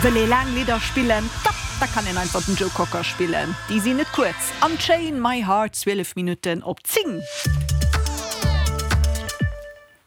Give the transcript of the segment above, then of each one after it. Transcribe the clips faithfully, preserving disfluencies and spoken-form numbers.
Wëll ee laang Lidder spillen, da da kann een einfach den Joe Cocker spillen. Déi sinn net kuerz. Unchain My Heart, zwielef Minutten op zéng.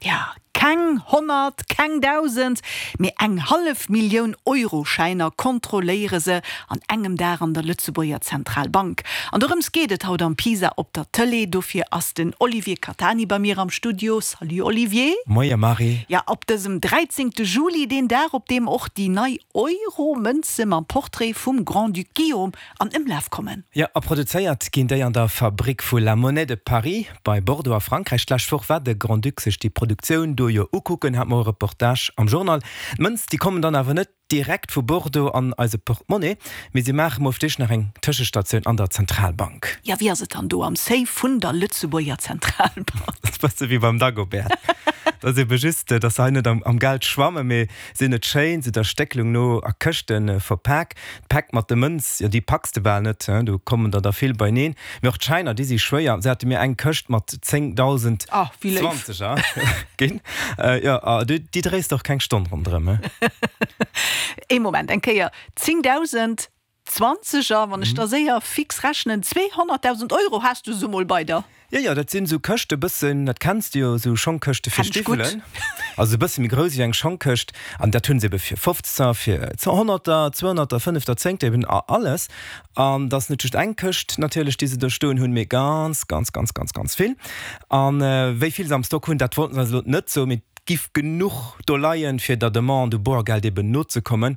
Ja, keng honnert, keng dausend, mee eng hallef Millioun Euroschäiner kontrolléiere se an engem Dag an der Lëtzebuerger Zentralbank. An dorëms geet et haut am Pisa op der Tëlee. Dofir ass den Olivier Catani bei mir am Studio. Salut Olivier. Moie Marie. Ja, op dësem dräizéngte Juli, deen Dag op deem och déi nei Euro-Mënze mam Portrait vum Grand-Duc Guillaume an Ëmlaf kommen. Jo, a produzéiert ginn déi an der Fabrick vu La Monnaie de Paris bei Bordeaux a Frankräich. D'lescht Woch war de Grand-Duc sech déi Produktioun do jo ukucken, hat mer e Reportage am Journal. D'Mënz, déi kommen dann awer net direkt vu Bordeaux an eise Portmonnaie, mee si maache mol fir d'éischt nach eng Tëschestatioun an der Zentralbank. Jo, wéi ass et dann do am Safe vun der Lëtzebuerger Zentralbank? Dat ass bësse wéi beim Dagobert. Dat ass ebe just, dass se hei net am Geld schwammen, mee se hunn et schéin, se der Stéckelung no a Këschte verpak. D'Päck mat de Mënz, jo déi packs de bal net, do kommen der der vill beineen. Mee och d'Schäiner, déi si schwéier. Se hate mir eng Këscht mat zéngdausend Zwanzeger ginn. Jo, a déi dréis de och keng Stonn ronderëm. Ee Moment, eng Kéier, zéngdausend Zwanzeger, wann ech da séier fix rechnen, zweehonnertdausend Euro has du se mol bei der. Jo, jo, dat sinn esou Këschte bëssen, dat kenns de jo, esou Schongkëschte fir Kenn ech gutt. Stiwwelen, also e bësse méi grouss wéi eng Schongkëscht. An dat hunn se ebe fir Fofzeger, fir Honnerter, Zweehonnerter, Fënnefter, Zéngter, eben alles. An dat ass net just eng Këscht natierlech, déi se do stoen hunn, mee ganz, ganz, ganz, ganz, ganz vill. An wéi vill se am Stock hunn, dat wollten se eis elo net soen, mee et giff genuch do leien, fir der Demande u Boergeld eben nozekommen.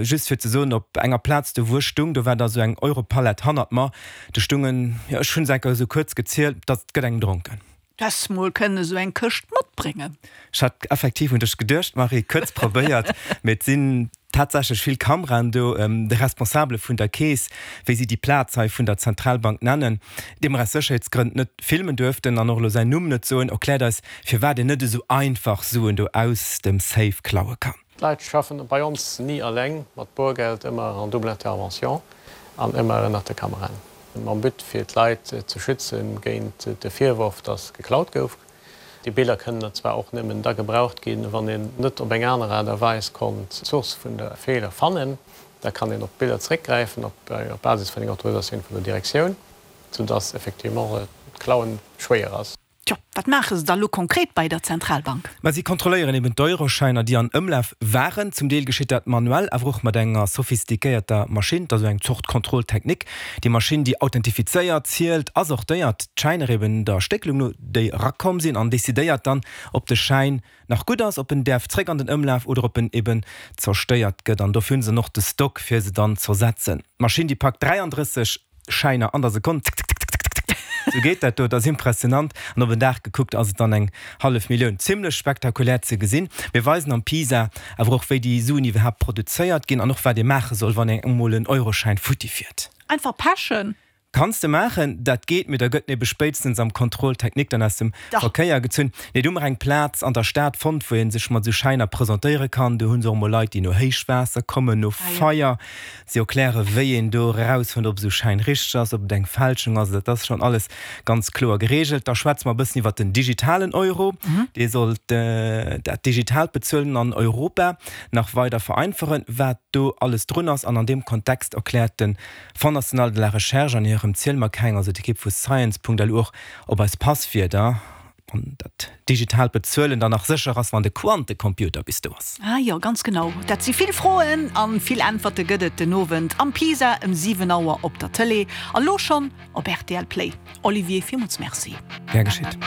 Just fir ze soen, op enger Plaz do wou ech stung, do war da sou eng Europalett hannert mer, do stungen, jo ech hunn se enker esou kuerz gezielt, dat gëtt engem dronken. Du häss mol kënnen esou eng Këscht matbréngen. Ech hat effektiv un dech geduecht, Marie, kuerz probéiert, mee et sinn tatsächlech vill Kameraen do. De Responsabele vun der Keess, wéi si déi Plaz hei vun der Zentralbank nennen, dee mer aus Sécherheetsgrënn net filmen duerften an och elo säin Numm net soen, erkläert eis, firwat een net esou einfach Suen do aus dem Safe klaue kann. D'Leit schaffen bei ons ni alleng mat Boergeld, ëmmer en double intervention an ëmmer ënnert de Kameraen. Mam But fir d'Leit ze schützen géint de Virworf, dass geklaut gouf. Déi Biller kënnen zwar och nëmmen da gebraucht ginn, wann een net op eng aner Aart a Weis konnt d'Source vun der Feeler fannen. Da kann een op d'Biller zeréckgräifen op Basis vun enger Autorisatioun vun der Direktioun, soudass effectivement d'Klauen schwéier ass. Tjo, wat maache se da lo konkret bei der Zentralbank? Ma si kontrolléieren eben d'Euroschäiner, déi an Ëmlaf waren. Zum Deel geschitt dat manuell, awer och mat enger sophistiquéierter Maschinn. Dat ass esou eng Zort Contrôle technique. Déi Maschinn, déi authentifizéiert, zielt a sortéiert d'Schäiner eben der Stéckelung no, déi erakomm sinn, an decidéiert dann, ob de Schäin nach gutt ass, ob en däerf zréck an den Ëmlaf oder ob en eben zerstéiert gëtt. An dofir hunn se dann och de Stock, fir se dann z'ersetzen. D'Maschinn, déi packt dräiandrësseg Schäiner an der Sekonn, tick, tick, tick, tick, tick, tick, sou geet dat do. Et ass impressionant. An op en Dag gekuckt ass et dann eng hallef Millioun. Zimlech spektakulär ze gesinn. Mir weisen am PISA awer och, wéi déi Suen iwwerhaapt produzéiert ginn an och wat ee maache soll, wann engem emol en Euroschäin futti fiert. Einfach pechen. Kanns de maachen, dat geet, mee da gëtt en ebe spéitstens am Contrôle technique dann aus dem Verkéier gezunn. Nee, do hu mer eng Plaz an der Stad fonnt, wou ee sech mat esou Schäiner presentéiere kann. Do hu se och emol Leit, déi no Héichwaasser kommen, no Feier. Si erkläre wéi een do erausfënnt, ob esou Schäin richteg ass, ob et eng Fälschung ass. Dat ass schonn alles ganz kloer gereegelt. Da schwätze mer e bëssen iwwert den digitalen Euro. Dee soll dat digitaalt Bezuelen an Europa nach weider vereinfachen. Wat do alles drun ass an an deem Kontext erkläert de Fonds national de la recherche an hirem Ziel mer keng, also d'Ekipp vu Science.lu och, ob eis Passwierder an dat digitaalt Bezuelen dann nach sécher ass, wann de Quantecomputer bis do ass. Ah jo, ganz genau. Dat si vill Froen a vill Äntwerte gëtt et den Owend am Pisa ëm siwen Auer op der Tëlee a lo schonn op rtl Play. Olivier, villmools Merci. Gär geschitt.